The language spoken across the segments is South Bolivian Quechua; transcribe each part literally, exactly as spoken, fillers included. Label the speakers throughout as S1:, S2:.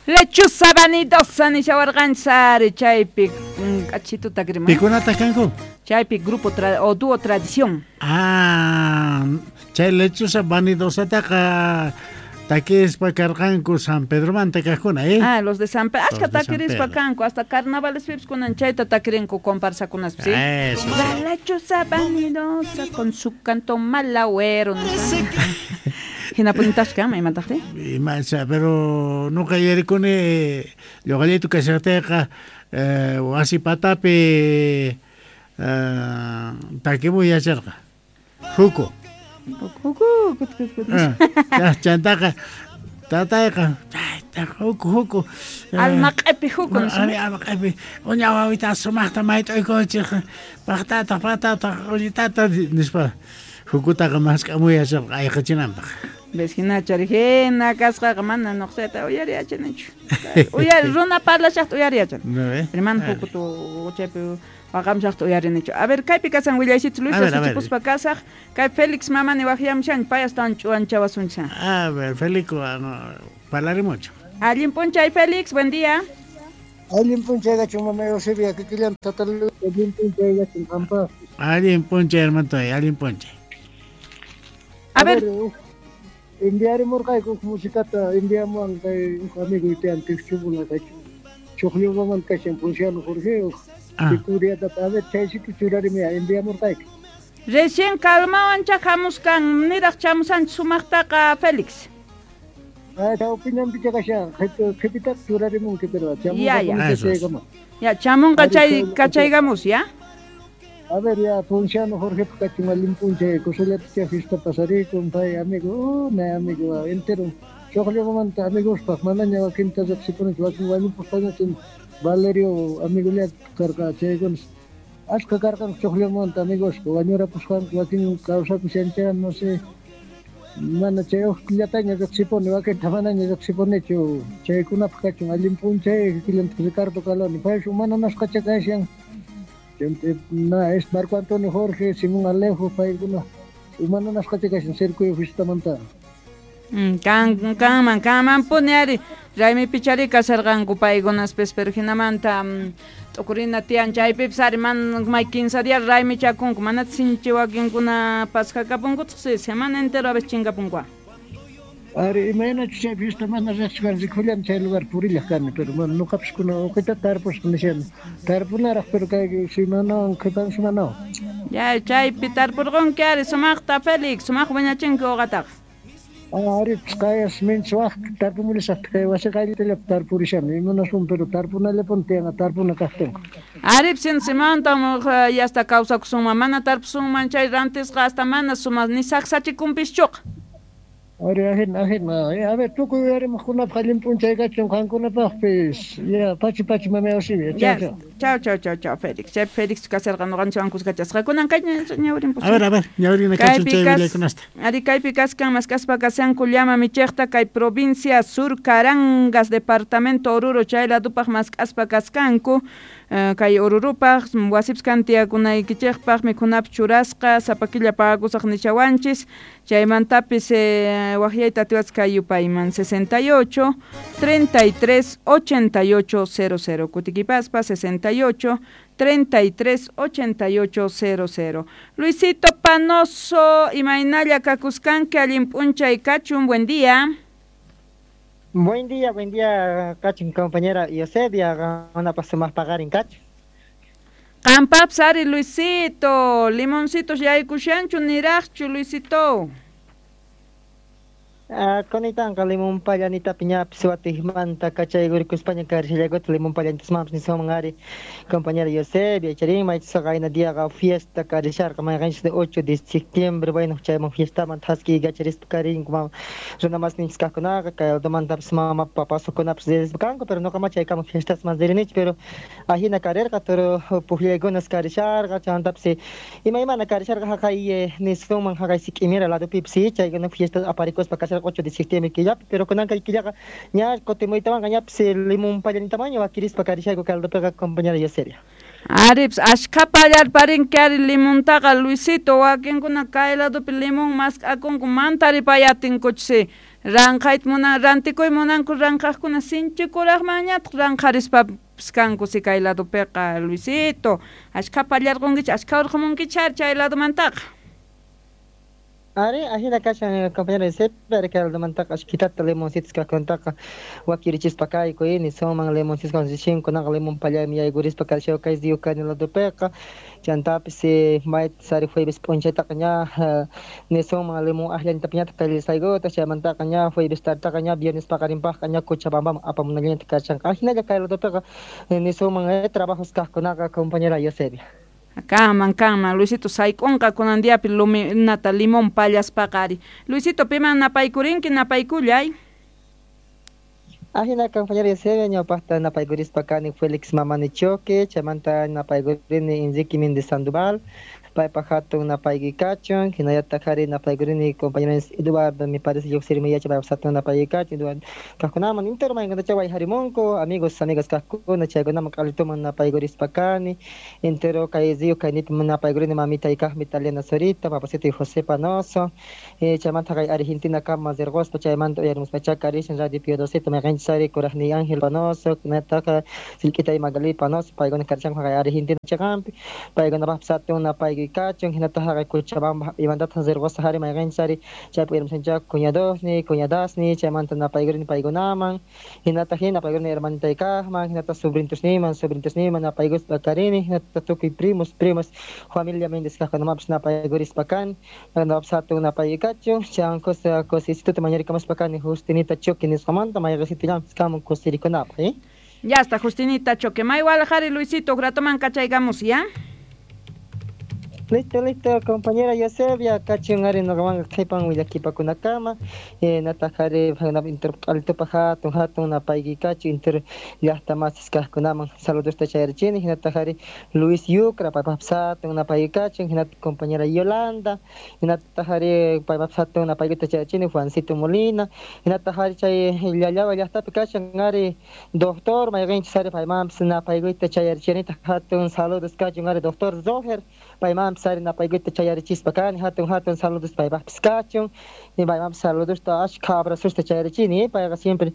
S1: Lechuza vanidosa nishawarqanchis ari chaypi k'achituta grima.
S2: Pikunataq kanku?
S1: Chaypi grupo tra o dúo Tradición.
S2: Ah, chay lechuza vanidosataqa takispa karqanku San Pedromanta kaqkuna, eh?
S1: Ah, los de San Pedro. Ashka takirispa kanku, hasta carnavales pipis kunan chayta takirinku comparsakunaspi, ¿sí?
S2: Eso, sí.
S1: La lechuza vanidosa con su canto malagüero. Hinapunitashka, imataqri?
S2: Imacha, pero nuqa yuyarikuni lluqallaytu kashaqtayqa eh, wasi patapi eh, takimuy yacharqa. Huku.
S1: Huku, kut, kut, kut.
S2: Ah, chantaqa tatayqa huku huku.
S1: Alma q'epi huku.
S2: Ari alma q'epi. Uña wawita sumaqta mayt'uykunchik. Paqtataq patataq ullitata nispa hukutaqa mask'amuy yacharqa ayqichinanpaq.
S1: Ves hinachari hina kasqaqa mana nuqsayta uyariyachanichu. Uyari runa parlashaqta uyariyachani. Hermano hukutu chaypi waqamshaqta uyarinichu. A ver, kaypi kasan willaysichu Luis Suchipuspa kasaq. Kay Félix mamani waqyamushan pay astawan ch'uwanchawasuncha.
S2: A ver, Félix, parlarimucho.
S1: Allin p'unchay Félix, buen día.
S3: Allin p'unchay gachun mama Eusebia, kikillan tata Luis, allin p'unchay gachun qanpaqpis.
S2: Allin p'unchay hermano, allin p'unchay.
S1: A ver,
S3: enviarimurqayku musicata enviamuwan kay uj amigo tiyan Tiqchubula kachun Chuqllumaman kashan Ponciano Jorge uj Victoriata a ver chaysito churarimiya enviamurqayku.
S1: Recién calmawancha hamuskan niraq chamusanchik sumaqtaqa Félix.
S3: Ah, chawpinanpicha kashan qhipitaqa churarimunki pero
S1: Ya, ya. Ya, chamunqa chay kachaygamus, ya.
S3: A ver, ya, Ponciano Jorge kachun allin p'unchay kusallatacha fiesta pasarikun pay amigo, oh, na amigo, entero Chuqllumamanta amigospaq manaña wakinta riqsipunichu wakin wañupuspaña Valerio amigolla karqa chaykunas ashka karqanku Chuqllumamanta amigosqa wañurapusqanku wakin kawsakushancha no sé mana chay uqllataña riqsipuni wakinta manaña riqsipunichu chaykunapaq kachun allin p'unchay kikillantaq Ricardo Caloni pay mana nasqacha kashan. Na, es Marco Antonio Jorge, Simón Alejo, paykuna humana nasqacha kashan Cercuyo fiestamanta.
S1: Kan kanman kanmanpuni ari raymipichari kasharqanku paykunaspis pero hinamanta t'ukurina tiyan chaypipis ari man may quince días raymichakunku manataq sinchi wakinkuna pasjakapunkutaq si semana entero a veces chinkapunku.
S3: Ari imaynachu chay fiesta mana riqsisqani rikullani chay lugar purillaq kani pero mana nuqapis kuna uqita tarpusqa nishani tarpunaraq pero kay semanawan qhipan semanawan.
S1: Ya chaypi tarpurqunki ari sumaqta Félix sumaq wiñachinki uqataqa.
S3: Ah, ari kayas minchis waq tarpumulisaqta kay wasi qayllitallapi tarpurishani imanaswan pero tarpunallapuni tiyanqa tarpuna kaqtinqa.
S1: Ari sin simantam yasta kawsakusunman mana tarpusunman chay rantisqa hasta mana sumaq ni saqsachikunpischuqa.
S3: Ari ajina ajina a ver tukuy uyarimuqkunapaq allin p'unchay kachun qankunapaqpis ya pachi pachi mama Eusebia chao chao.
S1: Chao chao chao chao Félix. Chay Félix kasharqa nuqanchikwan kuskachasqa kunan kay ñawrin
S2: A ver a ver ñawrina kachun chay willaykunasta.
S1: Ari kaypi kaskan maskaspa kashanku llama michiqta kay provincia Sur Carangas departamento Oruro chay ladupaq maskaspa kaskanku kay Orurupaq wasipis kan tiyakunaykichikpaq mikhunapis churasqa sapa killa pagakusaq nishawanchis chaymantapis waqyayta atiwasqa kay yupayman sesenta y ocho, treinta y tres, ochenta y ocho, cero cero kutikipaspa sesenta y ocho, treinta y tres, ochenta y ocho, cero cero. Luisito Panoso imaynalla kakuskanki allin p'unchay kachun buen día.
S4: Buen día, buen día, kachun compañera Eusebia, una paso más pagar en cacho.
S1: Qampapis ari Luisito, limoncitos yaykushanchu niraqchu Luisito.
S4: Ah, kunitanqa limón pallanitapi ñapis watijmanta kachaykurikuspaña karishallakuta limón pallantasmanpis niswanman ari compañera Eusebia charin maychisqa qayna diaqa fiesta karisharqa mayqanchis de ocho de septiembre bueno chayman fiestaman thaski kacharispa karinku mama runa masninchis kaqkunaqa kay aldomantapis mama papasukunapis ririspa kanku pero nuqa chaykama fiestasman ririnichu pero ajina karirqa toro puqllaykunas karisharqa chaymantapas imaymana karisharqa haqay niswanman haqay sik'imira ladupipis chaykuna fiesta aparikuspa kasharqa ocho de septiembre killapi pero kunanqa killaqa ña kutimuytawanqa ñapis limón pallanitamaña wakirispa karishayku caldopiqa compañera Eusebia.
S1: Aripis ashkha pallarparinki ari limontaqa Luisito wakinkuna kay ladupi limón mask'akunku mantaripayatinkutsi Ranqayta munan rantikuy munanku ranqaqkuna sinchikuraqmanñataq ranqarispapis kanku si kay ladopiqa Luisito ashkha pallarqunkichik ashkha urqumunkichari chay ladomantaqa.
S4: Ari, ajina kashan compañero Eusebia, ari kay ladomantaqa ashkitata limoncitos kaqkunataqa wakirichispa kayku nisunman limoncitos kunaqa limon pallaymi yaykurispa kashaw kay Yukani ladopiqa chantapis mayta ari jueves p'unchaytaqa ña nisunman limon akllantapiñataq kallisaykuta chaymantaqa ña jueves tartaqa ña viernes paqarinpaqqa ña Cochabambaman apamunallanata kashanqa ajinalla kay ladopiqa nisunman trabajos kaqkunaqa compañera Eusebia.
S1: Kanman, kanman, Luisito sayk'unqa kunan diapi luminata limón pallaspaqa ari. Luisito, piman napaykurinki, napaykullay.
S4: Ajina compañera Eusebia, ñawpaqta napaykurispa kani Félix Mamani Choque, chaymanta napaykurini Enrique Méndez Sandoval, paypaq hatun napaykuy kachun, hinallataq ari napaykurini compañero Eduardo, me parece lluqsirmi yachay paypaq hatun napaykuy kachun, Eduardo kaqkunaman entero maykunatacha wayharimunku, amigos, amigas kaqkuna chaykunaman q'alituman napaykurispa kani, entero kay río kaynipi napaykurini mamitay kaqmi Italiana Zurita, papasito José Panoso, chaymanta kay Argentina kama zirquspa chaymanta uyarimuspacha karishan Radio Piedosito mayqinchis ari kuraqniy Ángel Panoso, hinataqa sillk'itay Magali Panoso, paykuna karishanku kay Argentina chaqanpi, paykunapaqpis hatun napaykuy kachun, hinataq haqay Cochabamba imantataq zirquspa hari mayqinchis ari chaypi uyarimusanchá cuñadosni, cuñadasni, chaymanta napaykurini paykunaman, hinataq hina napaykurini hermanitay kaqman, hinataq sobrintosniman, sobrintosniman napaykuspa karini, hinataq tukuy primos, primas, familia Méndez kaqkunamapis napaykurispa kani, paykunapaqpis hatun napaykuy kachun, chay cosa cosisituta mañarikamuspa kani Justinita Choque nisqamanta mayqisitullampis kamun kusirikunapaq, eh?
S1: Ya está Justinita Choque, maywalaq ari Luisito, ratoman kachaykamus, ya?
S4: Listo, listo, compañera Eusebia, kachun ari nuqamanqa qhipan willakipakunakama, hinataq ari inter q'alitupa hatun hatun napaykuy kachun inter llaqta masis kaqkunaman saludosta chayarichini, hinataq ari Luis Yucra paypaqpis hatun napaykuy kachun, hinataq compañera Yolanda, hinataq ari paypaqpis hatun napaykuyta chayarichini Juancito Molina, hinataq ari chay Llallawa llaqtapi kashan ari doctor mayqinchis ari paymanpis napaykuyta chayarichinitaq hatun saludos kachun ari doctor Roger, paymanpis ari napaykuyta chayarichispa kani hatun hatun saludos paypaqpis kachun, paymanpis saludosta ashkha abrazosta chayarichini, payqa siempre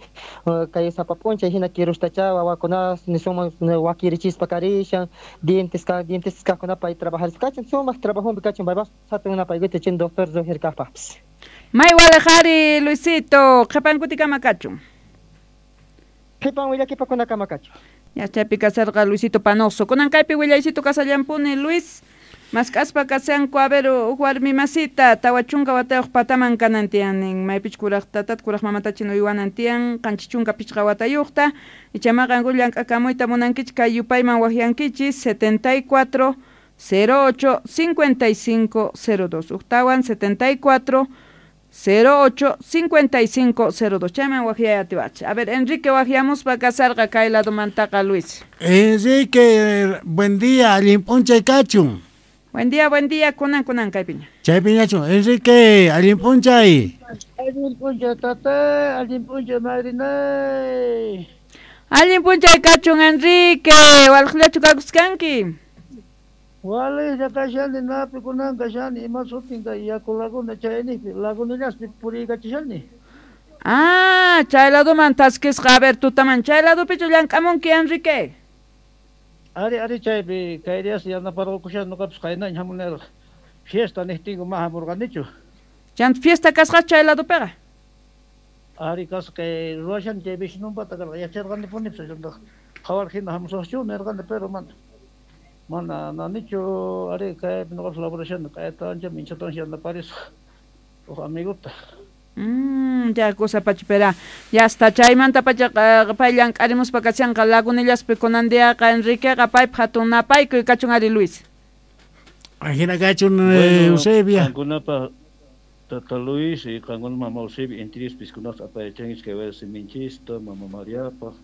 S4: kay sapa p'unchay hina kirustacha wawakuna nisunman wakirichispa karishan, dientes ka dientes kaqkuna pay trabajarispa kachun, sumaq trabajunpi kachun paypaqpis hatun napaykuyta chin doctor Roger kaqpaqpis.
S1: Maywalaq ari Luisito, qhipankutikama kachun.
S4: Qhipan willakipakunakama kachun.
S1: Ya chaypi kasarqa Luisito Panoso. Kunan kaypi willaysito kasallampuni Luis. Mask'aspa kashanku a ver huk warmi masita tawa chunka watayuq pataman kanan tiyan maypich kuraq tatata kuraq mamatachin uywanan tiyan qanchis chunka pichqa watayuqta ichamaqa llank'akamuyta munankichik kay yupayman waqyankichis setenta y cuatro cero ocho cincuenta y cinco cero dos uktawan setenta y cuatro cero ocho cincuenta y cinco cero dos chayman waqyay atiwach. A ver, Enrique waqyamuspa kasarqa kay ladomantaqa Luis.
S2: Enrique, buen día, allin p'unchay kachun.
S1: Buen día, buen día, kunan kunan kaypiña.
S2: Chaypiñachu, Enrique, allin p'unchay.
S3: Allin p'unchay tata, allin p'unchay madrinay.
S1: Allin p'unchay kachun Enrique, walqllachu kakuskanki.
S3: Walqlla kashani, napi kunan kashani, ima sutin kay yaku laguna chaynipi, lagunillaspi puriykachishani.
S1: Ah, chay ladoman taskisqa, a ver, tutaman chay ladopichu llank'amunki Enrique.
S3: Ari, ari chaypi kay días yanaparqukushan nuqapis qaynaña hamunarqa. Fiesta niqtinku ma hamurqanichu.
S1: Chanta fiesta kasqa chay ladopiqa.
S3: Ari kasqa kay ruwashan chay vecinonpata karqa yacharqanipunipis chayta qhawar hina hamusaqchu nirqani pero mana. Mana nanichu ari kaypi nuqapis laburashani kayta ancha minchatawan yanaparisaq huk amiguta.
S1: Mm, ya cosa pachipera. Ya está chaymanta pacha pay llank'arimuspa kashanqa lagunillaspi kunan diaqa Enriqueqa paypaq hatun napaykuy kachun ari Luis.
S2: Ajina kachun Eusebia.
S5: Qankunapaq tata Luis y qankuna mama Eusebia intirispi kunaq apayachanchis kay wasiminchista mama Mariapaq.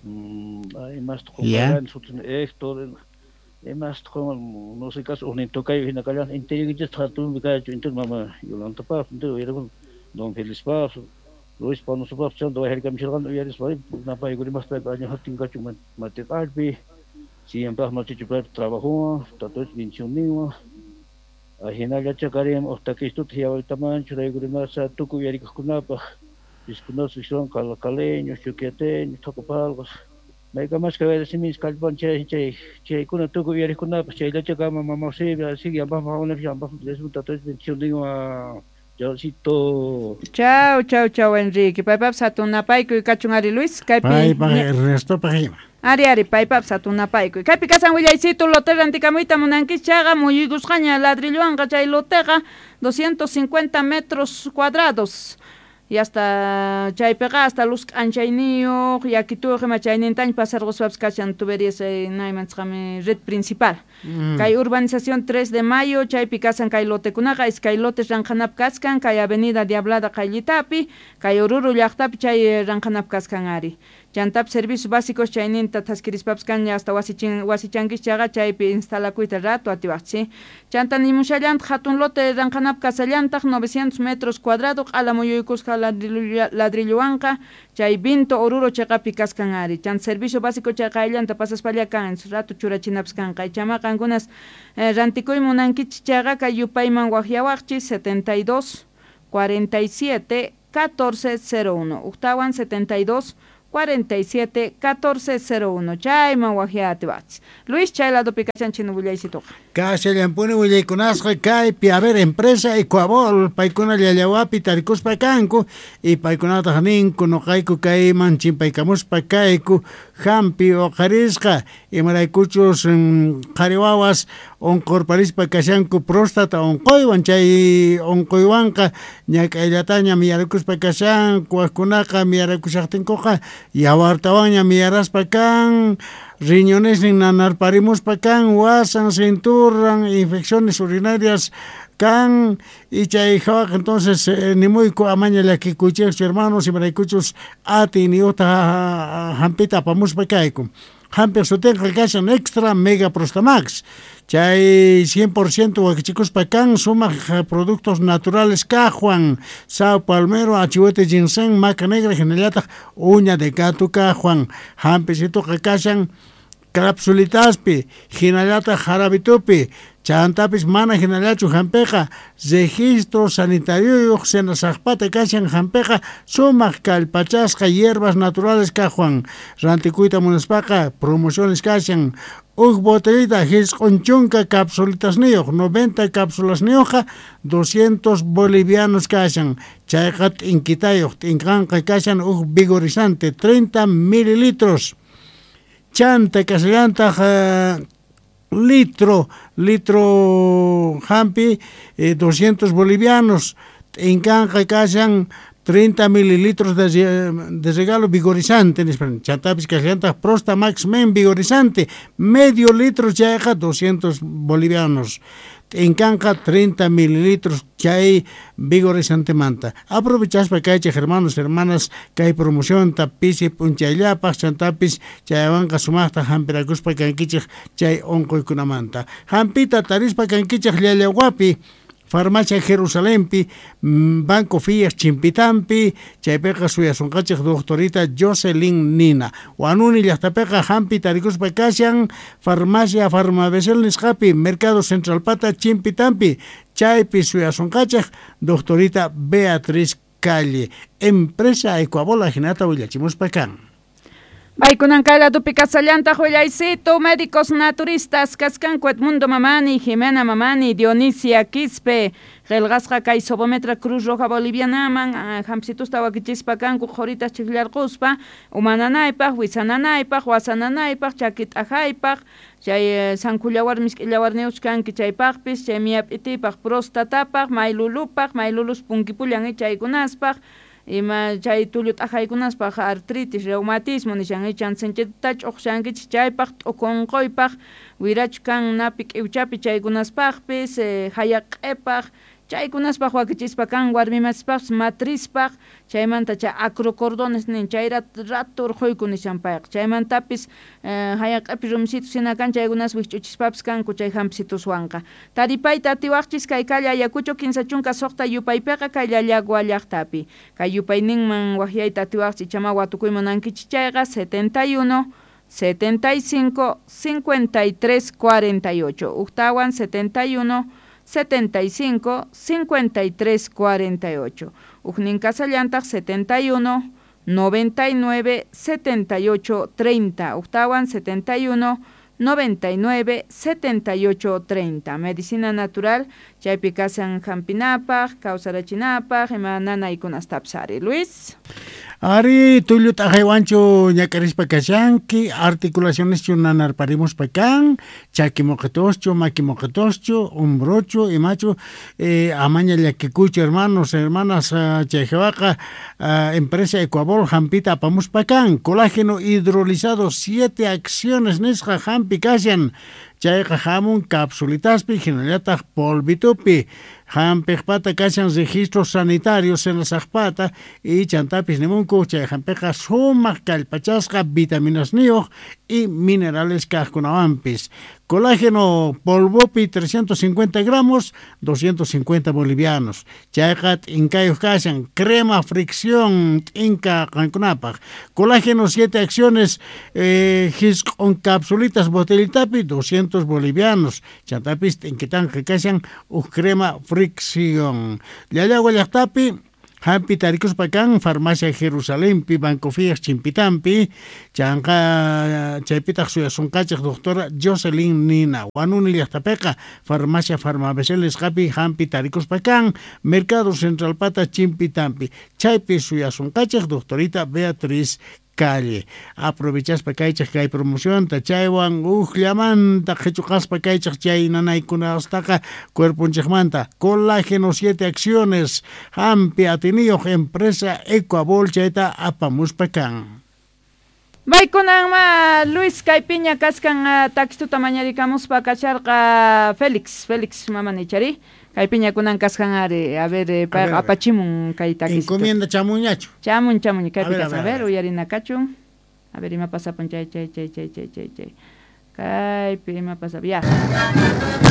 S5: Mm, imasta qunqarani sutin Héctor, imasta qunqan no sé caso ujnin tocayo hina kallan intirinkichista hatunpi kachu intir mama Yolantapaq intir uyarikun Don Felispaq, Luis Panosopaq chanta wayharkamishirqani uyarispa napaykurimaqta paypa año hatin kachun matiqallpi siyanpaq machichu paypa trabajowan tatuch bendicionninwan ajinallacha karim uq takistuta hiawaytaman churaykurimasa tukuy uyarikuqkunapaq Piskunas son calacaleños, chuquiateños, tocopalgos. Maykamas kay wayra siminchis kallpan chay chay chaykuna tukuy uyariqkunapas chayllachakama mama Eusebia así llampaq llampaq tata bendición Chaucito.
S1: Chau, chau, chau, Enrique. Paypapas hatunapaykuy kachun ari Luis. Kaypi
S2: Paypaq Ernestopaq ima.
S1: Ari, ari, paypapas hatunapaykuy. Kaypi kasan willaycito lote rantikamuyta munankichis chayqa muyuykusqaña ladrillowanqa chay loteqa doscientos cincuenta metros cuadrados. Y hasta chaypiqa hasta luz k'anchayniyuq yakituyuq ima chaynintaña pasarquspapas kashan tuberías naymanchaqmi red principal.
S2: Mm.
S1: Kay urbanización tres de mayo chaypi kasan kay lotekunaqa iskay lotes ranqhanap kaskan kay avenida Diablada qayllitapi kay Oruro llaqtapi chay ranqhanap kaskan ari. Chantap servicios básicos chayninta thaskirispapas kanña hasta wasichin wasichankichis chayqa chaypi instalakuyta rato atiwaqchis. Chanta nimushallantaq hatun lote ranqhanap kasallantaq novecientos metros cuadrado q'ala muyuykusqa ladrillowanqa chay Vinto Oruro chayqapi kaskan ari. Chanta servicio básico chay qayllanta pasaspalla kan rato churachinapas kanqa. Chama qankunas eh, rantikuy munankichis chayqa kay yupayman waqyawaqchis setenta y dos, cuarenta y siete, catorce cero uno. Uktawan setenta y dos, cuarenta y siete, catorce cero uno. Chayman waqyatiwaqchis. Luis, chay ladopi kachanchik willaysituqa.
S2: Kashallampuni willaykunasqa kaypi, a ver, empresa Ecuabol, paykuna llallawapi tarikuspa kanku, y paykunataq ninku nuqayku kayman chimpaykamuspa kayku, hampi uqarisqa, imaraykuchus qhari wawas unqurparispa kashanku próstata unquywan, chay unquywanqa ñak'ayllataña miyarakuspa kashanku, wajkunaqa miyarakushaqtinkuqa yawartawanña miyaraspa kan, riñonesnin nanarparimuspa kan, wasan, cinturan, infecciones urinarias kan, y chay hawaqa entonces eh, nimuyku amaña llakikuychikchu hermanos, imaraykuchus atiyniyuqta hampita apamuspa kayku. Hampiq sutinqa kashan Extra Mega Prostamax. Chay cien por ciento wakichikuspa kan sumaq productos naturales kajwan, sao palmero, achihuete ginseng, maca negra, hinallataq uña de gato kajwan. Hampisituqa kashan capsulitaspi, hinallataq jarabitupi, chantapis mana hinallachu hampiqa, registro sanitariuyuq senasaqpata kashan hampiqa, sumaq kallpachasqa hierbas naturales kajwan. Rantikuyta munaspaqa promociones kashan, uj botellita hisq'un chunka capsulitasniyuq, noventa capsulasniyuqqa doscientos bolivianos kashan, chayqa t'inkitayuq, t'inkanqa kashan uj vigorizante treinta mililitros. Chanta kasallantaq uh, litro, litro hampi eh, doscientos bolivianos, t'inkanqa kashan treinta mililitros de, de regalo vigorizante, chantapis kasallantaq Prosta Max Men vigorizante, medio litro chayqa doscientos bolivianos. T'inkanqa treinta mililitros chay vigorizantemanta. Aprovechaspa kaychik hermanos, hermanas, kay promocionta pisi p'unchayllapaq, chantapis chaywanqa sumaqta hampirakuspa kankichik chay unquykunamanta. Hampita tarispa kankichik llallawapi, Farmacia Jerusalempi, Banco Fías Chimpitampi, chaypiqa suyasunqachik doctorita Jocelyn Nina. Huanuni llaqtapiqa hampi tarikuspa kashan Farmacia Farmabesel nisqapi, Mercado Central Pata Chimpitampi, chaypi suyasunqachik doctorita Beatriz Calle. Empresa Ecuabola hinata willachimuspa kan.
S1: Paykunan kay ladopi kasallantaq willaycito, médicos naturistas kaskanku Edmundo Mamani, Jimena Mamani, Dionisia Quispe, qillqasqa kay Sobometra Cruz Roja Bolivianaman, hampsitusta wakichispa kanku qhuritas chiqllarquspa, umananaypaq, wisananaypaq, wasananaypaq, chaki t'ajaypaq, chay sankullawar misk'illawarniyuq kanki chaypaqpis, chay miyap'itipaq, prostatapaq, maylulupaq, maylulus punkipullan chaykunaspaq, ima chay tullu t'ajaykunaspaq artritis, reumatismo nishan ichan sinchita ch'uqshankichik chaypaq, t'uku unquypaq, wirachu kan napi k'iwchapi chaykunaspaqpis, eh, hayaq'ipaq, chaykunaspaq wakichispa kan warmimaspaqpis matrispaq, chaymanta chay acrocordones nin chay rato urquyku nishan payqa, chaymantapis eh, hayaq'ipi rumisitus hina kan chaykunas wikch'uchispapis kanku chay hampisituswanqa. Taripayta atiwaqchis kay calle Ayacucho kinsa chunka suqta yupaypiqa kay Llallagua llaqtapi. Kay yupayninman waqyayta atiwaqchis ichama watukuy munankichis chayqa setenta y uno, setenta y cinco, cincuenta y tres, cuarenta y ocho. Uktawan setenta y uno, setenta y cinco, cincuenta y tres, cuarenta y ocho. Ujnin kasallantaq setenta y uno, noventa y nueve, setenta y ocho, treinta. Ujtawan setenta y uno, noventa y nueve, setenta y ocho, treinta. Medicina natural, chaypi kasan hampinapaj, kawsarachinapaj, ima nanaykunastapis ari. Luis.
S2: Ari, tullu t'aqaywanchu ñak'arispa kashanki, articulacioneschu nanarparimuspa kan, chaki moqetoschu, maki moqetoschu, hombrochu, imachu, eh, amaña llakikuychu, hermanos, hermanas, chay jewaqa, uh, empresa Ecuabol hampita apamuspa kan, colágeno hidrolizado, siete acciones nisqa hampi kashan, chayqa hamun capsulitaspi, hinallataq polvitupi, hampiqpata kashan registros sanitarios senasaqpata y chantapis nimunku chay hampiqa sumaq kallpachasqa vitaminasniyuq y minerales kaqkunawanpis. Colágeno polvopi trescientos cincuenta gramos, doscientos cincuenta bolivianos. Chayqa t'inkayuq kashan, crema fricción t'inka qankunapaq. Colágeno siete acciones, eh, hisq'un capsulitas botellitapi, doscientos bolivianos. Chantapis t'inkitanqa kashan uj crema fricción. Llallagua llaqtapi hampi tarikuspa kan farmacia Jerusalempi, Banco Fías Chimpitampi, chanqa chaypitaq suyasunqachej doctora Jocelyn Nina. Wanuni llaqtapiqa farmacia Farmabecel nisqapi hampi tarikuspa kan Mercado Central Pata Chimpitampi, chaypi suyasunqachej doctorita Beatriz Calle. Aprovechaspa kaychaj kay promocionta, chaywan ujllamanta qhichuqaspa kaychaj chay nanaykunastaqa cuerponchejmanta. Colágeno siete acciones, hampi atiniyuq empresa Ecuabol chayta apamuspa kan.
S1: Baykunanma Luis kaypiña kaskan takistuta mañarikamuspa kasharqa Félix, Félix mamanichari. Kaypiña kunan kaskan ari, a ver, payqa apachimun kay takistuta.
S2: Encomienda chamuñachu.
S1: Chamun, chamun, kaypi kaskan, a ver, uyarina kachun. A ver, ima pasapun chay, chay, chay, chay, chay, chay, chay. Kaypi ima pasapun, ya.